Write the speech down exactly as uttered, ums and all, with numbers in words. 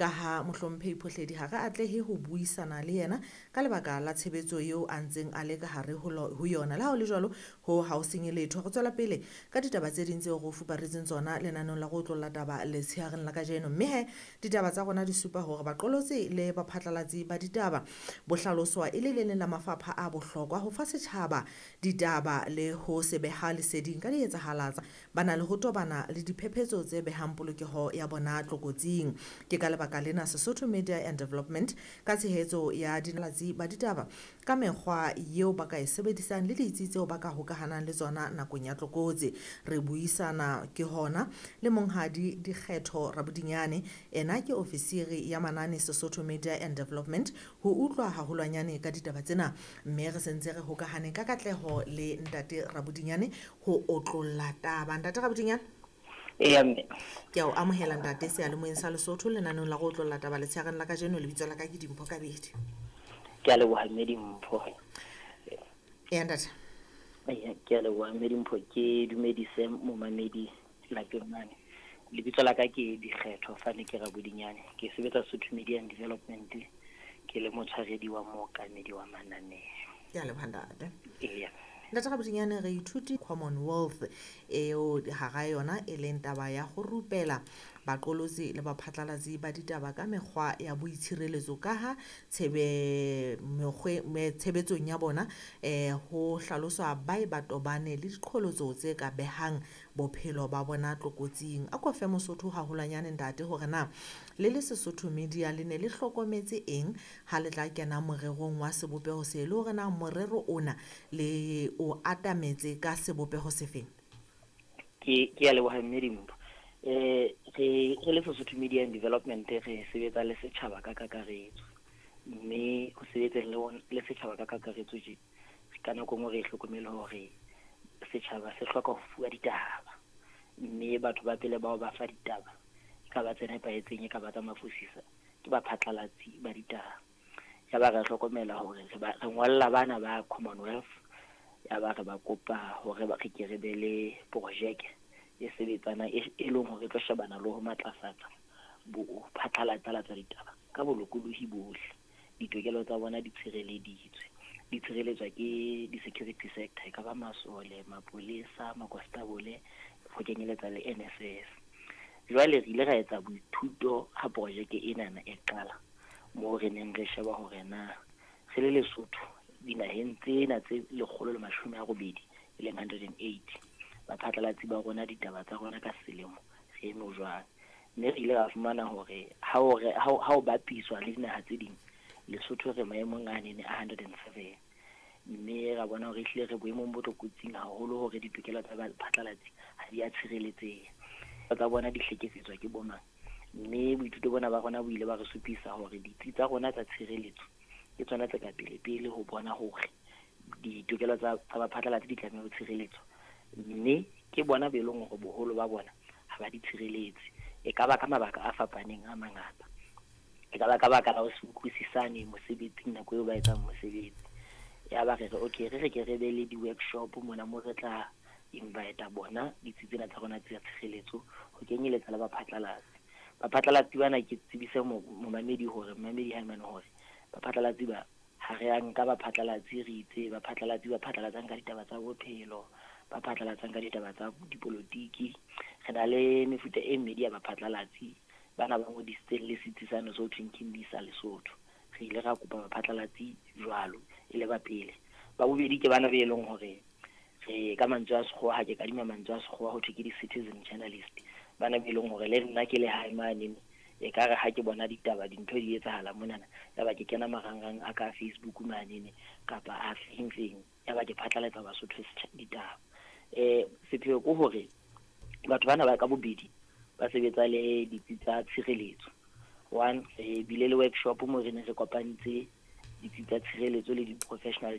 Ka ha Mohlomphehi Phohledi ha re atlehe ho buisana le yena ka lebaka la tshebetso eo a ntseng a le ka hare ho ho yona. Le ha ho le jwalo, ho ha o senye letho. Re tswela pele ka ditaba tse ding tseo re o fuparetseng tsona lenaneong la go otlolla taba letshehareng la kajeno. Mme he ditaba tsa rona di supa hore baqolotsi le baphatlalatsi ba ditaba bo hlaloswa e le le leng la mafapha a bohlokwa ho fa setjhaba ditaba le ho se beha leseding ka dietsahalatsa ba na le ho tobana le diphephetso tse behang polokeho ya bona tlokotsing. Ke ka lebaka lena Sesotho Media and Development ka tshehetso ya dinalatsi ba ditaba ka mekgwa eo ba ka e sebedisang le ditsi tseo ba ka hokahanang le tsona nakong ya tlokotsi. Re buisana ke hona le Monghadi Dikgetho Rabodinyane, ena ke ofisiri ya manane Sesotho Media and Development, ho utlwa haholwanyane ka ditaba tsena. Mme re sentse re hokahane ka katleho le Ntate Rabodinyane ho otlolla taba. Ntate Rabodinyane, Eya mme. Ke a o amohela ntate seyalemoyeng sa Lesotho lenaneong la go otlolla taba letshehareng la kajeno. Lebitso la ka ke Dimpho Kabedi. Ke a leboha mme Dimpho. Eya ntate. Eya, ke a leboha mme Dimpho, ke dumedise momamedi lapeng mane. Lebitso la ka ke Dikgetho Fane ke Rabodinyane. Ke sebetsa Sotho Media and Development, ke le motshwaredi wa mookamedi wa mananeo. Ke a leboha ntate. Eya. Ntate Rabodinyane, re ithuti Commonwealth eo hara yona e leng taba ya ho rupela baqolotsi le baphatlalatsi ba ditaba ka mekgwa ya boitshireletso ka ha tshebe mekgwe me tshebetsong ya bona eh ho hlaloswa ba e ba tobane le diqholotso tse ka behang bophelo ba bona tlokotsing. A ko fe Mosotho haholwanyane ntate hore na le le Sesotho Media le ne le hlokometse eng ha le tla kena morerong wa sebopeho se, le hore na morero ona le o atametse ka sebopeho sefeng? Ke ke a leboha mme Dimpho. Eh re re le Sesotho Media and Development re sebetsa le setjhaba ka kakaretso. Mme ho sebetseng le bona le setjhaba ka kakaretso tje, ka nako e nngwe re hlokomele hore setjhaba se hloka ho fuwa ditaba. Mme batho ba pele bao ba fa ditaba e ka ba tse nepahetseng, e ka ba tsa mafosisa, ke baphatlalatsi ba ditaba. Ya ba re hlokomela hore re ba re ngolla bana ba Commonwealth, ya ba re ba kopa hore ba re ke re be le projeke e sebetsana e e leng hore e tlo shebana le ho matlafatsa bo phatlalatsa ditaba ka bolokolohi bohle. Ditokelo tsa bona di tshireleditswe, di tshireletswa ke di-security sector, e ka ba masole, mapolesa, makonstabole, ho kenyeletsa le N S S. Jwale re ile ra etsa boithuto ha projeke enana e qala, moo re neng re sheba hore na re le Lesotho dinaheng tsena tse lekgolo le mashome a robedi, e leng hundred and eighty, baphatlalatsi ba rona ditaba tsa rona ka selemo re eme jwang. Mme re ile ra fumana hore ha o re, ha o, ha o bapiswa le dinaha tse ding, Lesotho re maemong a nene a hundred and seven. Mme ra bona hore ehlile re boemong bo tlokotsing haholo hore ditokelo tsa baphatlalatsi ha di a tshireletseha. Tsa bona di hlekefetswa ke bo mang. Mme boithuto bona ba rona bo ile ba re supisa hore ditsi tsa rona tsa tshireletso ke tsona tse ka pele-pele ho bona hore ditokelo tsa, tsa baphatlalatsi di tlameha ho tshireletswa. Mme ke bona be leng hore boholo ba bona ha ba di tshireletse. E ka ba ka mabaka a fapaneng a mangata. E ka ba ka baka la ho se utlwisisane mosebetsing nako eo ba etsang mosebetsi. Ya ba re re, okay, re re ke re be le di-workshop mona moo re tla invite bona ditsi tsena tsa rona tsa tshireletso ho kenyeletsa le baphatlalatsi. Baphatlalatsi bana ke tsebise mo-, momamedi hore, momamedi ha mane hore baphatlalatsi ba ha re a nka baphatlalatsi re itse baphatlalatsi ba phatlalatsang ka ditaba tsa bophelo, ba phatlalatsang ka ditaba tsa dipolotiki. Re na le mefuta e mmedi ya baphatlalatsi bana ba ngodisitseng le setsi sa no so thweng ke MISA Lesotho. Re ile ra kopa baphatlalatsi jwalo e le ba pele. Ba bobedi ke bana be leng hore re ka mantswe a sekgowa, ha ke kadima mantswe a sekgowa ho thwe ke di-citizen journalist. Bana be leng hore le nna ke le hae mane, e ka re ha ke bona ditaba dintho di etsahala monana, ya ba ke kena marangrang a ka Facebook manene kapa a feng feng, ya ba ke phatlalatsa Basotho setjha ditaba. Eh, sepheo ke hore batho bana ba ka bobedi ba sebetsa le ditsi tsa tshireletso. One, re bile le workshop mo re ne re kopantse ditsi tsa tshireletso le di-professional